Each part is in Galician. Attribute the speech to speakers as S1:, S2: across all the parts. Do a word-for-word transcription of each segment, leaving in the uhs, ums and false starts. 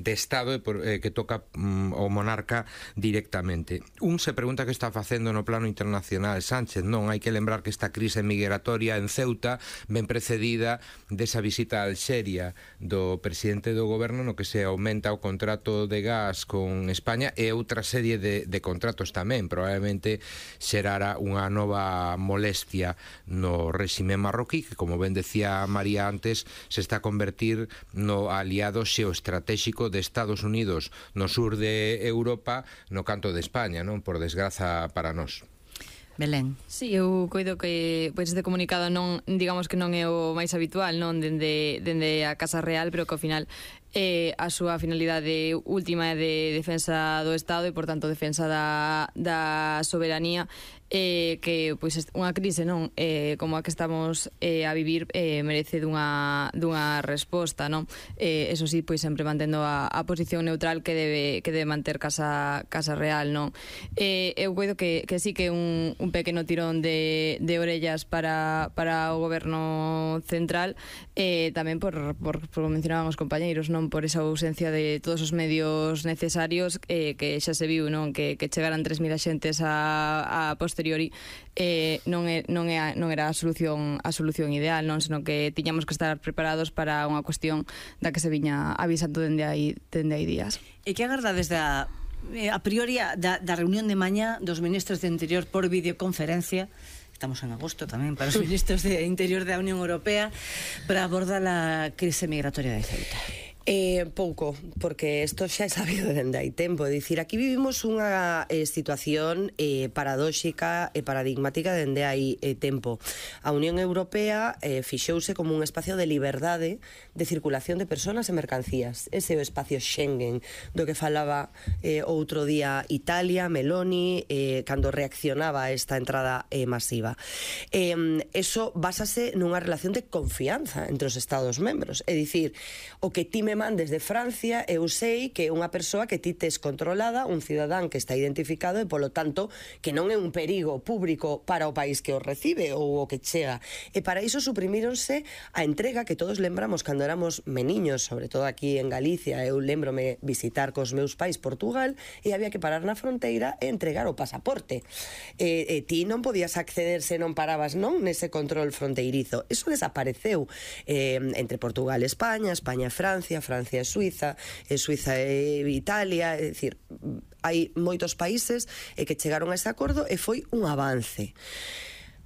S1: de Estado e por, eh, que toca mm, o monarca directamente. Un se pregunta que está facendo no plano internacional Sánchez. Non, hai que lembrar que esta crise migratoria en Ceuta ben precedida desa visita a Alxeria do presidente do goberno, no que se aumenta o contrato de gas con España e outra serie de, de contratos tamén. Probablemente xerara unha nova molestia no réxime marroquí, que, como ben decía María antes, se está a convertir no aliado xeoestratéxico de Estados Unidos no sur de Europa, no canto de España, non? Por desgraza para nós.
S2: Belén.
S3: Sí, eu coido que pois este comunicado non, digamos que non é o máis habitual, non dende, dende a Casa Real, pero que ao final eh, a súa finalidade última é de defensa do Estado e, por tanto, defensa da, da soberanía, eh, que pois unha crise non eh, como a que estamos eh, a vivir eh, merece dunha, dunha resposta, non? Eh, eso sí, pois sempre mantendo a, a posición neutral que debe, que debe manter Casa, Casa Real, non? Eh, eu coido que, que sí que un, un pequeno tirón de, de orellas para, para o goberno central, eh, tamén por, por, por mencionaban os compañeiros, non? Por esa ausencia de todos os medios necesarios, eh, que xa se viu, non? Que, que chegaran tres mil axentes a, a posteriori eh, non, é, non, é, non era a solución a solución ideal, non? Senón que tiñamos que estar preparados para unha cuestión da que se viña avisando dende aí, dende aí días.
S2: E que agardades da a priori da, da reunión de mañá dos ministros de Interior por videoconferencia? Estamos en agosto tamén para os ministros de Interior da Unión Europea para abordar a crise migratoria de Ceuta.
S4: Eh, pouco, porque isto xa é sabido dende hai tempo. É dicir, aquí vivimos unha eh, situación eh, paradóxica e paradigmática dende hai eh, tempo. A Unión Europea eh, fixouse como un espacio de liberdade de circulación de personas e mercancías. Ese é o espacio Schengen do que falaba eh, outro día Italia, Meloni, eh, cando reaccionaba a esta entrada eh, masiva. Eh, eso básase nunha relación de confianza entre os Estados membros. É dicir, o que ti me mandes de Francia, eu sei que é unha persoa que ti tes controlada, un cidadán que está identificado e, polo tanto, que non é un perigo público para o país que o recibe ou o que chega. E para iso suprimíronse a entrega que todos lembramos cando éramos meniños, sobre todo aquí en Galicia. Eu lembrome visitar cos meus pais Portugal e había que parar na fronteira e entregar o pasaporte. E, e ti non podías acceder se non parabas, non, nese control fronteirizo. Eso desapareceu eh, entre Portugal e España, España e Francia, Francia e Suiza, e Suiza e Italia. É dicir, hai moitos países e que chegaron a ese acordo e foi un avance.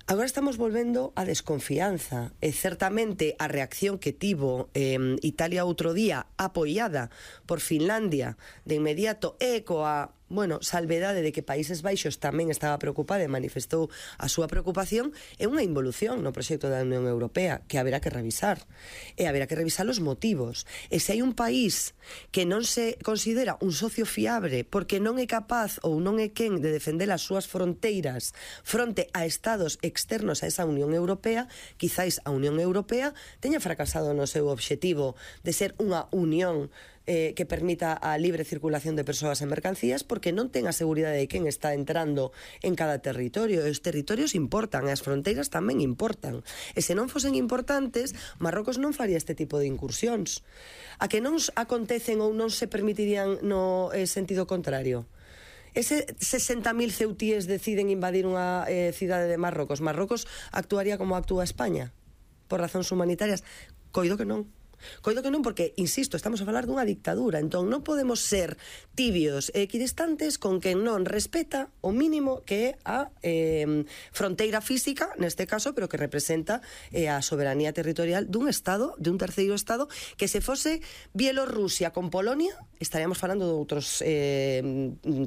S4: Agora estamos volvendo a desconfianza e certamente a reacción que tivo eh, Italia outro día, apoiada por Finlandia de inmediato e coa bueno, salvedade de que Países Baixos tamén estaba preocupada e manifestou a súa preocupación, é unha involución no proxecto da Unión Europea que haberá que revisar. E haberá que revisar os motivos. E se hai un país que non se considera un socio fiable porque non é capaz ou non é quen de defender as súas fronteiras fronte a estados externos a esa Unión Europea, quizáis a Unión Europea teña fracasado no seu obxectivo de ser unha unión Eh, que permita a libre circulación de persoas e mercancías, porque non ten a seguridade de quen está entrando en cada territorio. Os territorios importan e as fronteiras tamén importan. E se non fosen importantes, Marrocos non faría este tipo de incursións. A que non acontecen ou non se permitirían no eh, sentido contrario? Ese sesenta mil ceutíes deciden invadir unha eh, cidade de Marrocos. Marrocos actuaría como actúa España? Por razóns humanitarias? Coido que non. Coido que non, porque, insisto, estamos a falar dunha dictadura, entón non podemos ser tibios e equidistantes con quen non respeta o mínimo que é a eh, fronteira física, neste caso, pero que representa eh, a soberanía territorial dun estado, de un terceiro estado, que se fose Bielorrusia con Polonia, estaríamos falando de outros eh,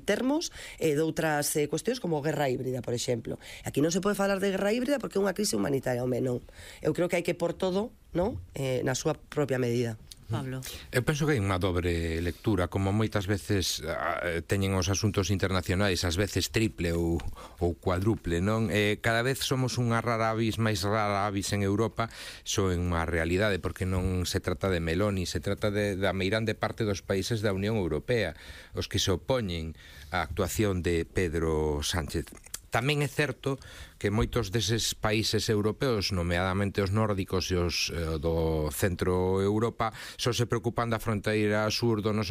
S4: termos, eh, de outras eh, cuestións como guerra híbrida, por exemplo. Aquí non se pode falar de guerra híbrida porque é unha crise humanitaria, home, non. Eu creo que hai que por todo, non? Eh, na súa propia medida.
S2: Pablo.
S1: Eu penso que hai unha dobre lectura, como moitas veces uh, teñen os asuntos internacionais, ás veces triple ou, ou cuádruple, non? Eh, cada vez somos unha rara avis máis rara avis en Europa, so en unha realidade, porque non se trata de Meloni, se trata de, da meirande parte dos países da Unión Europea, os que se opoñen á actuación de Pedro Sánchez. Tamén é certo que moitos deses países europeos, nomeadamente os nórdicos e os eh, do centro Europa, só se preocupan da fronteira sur do noso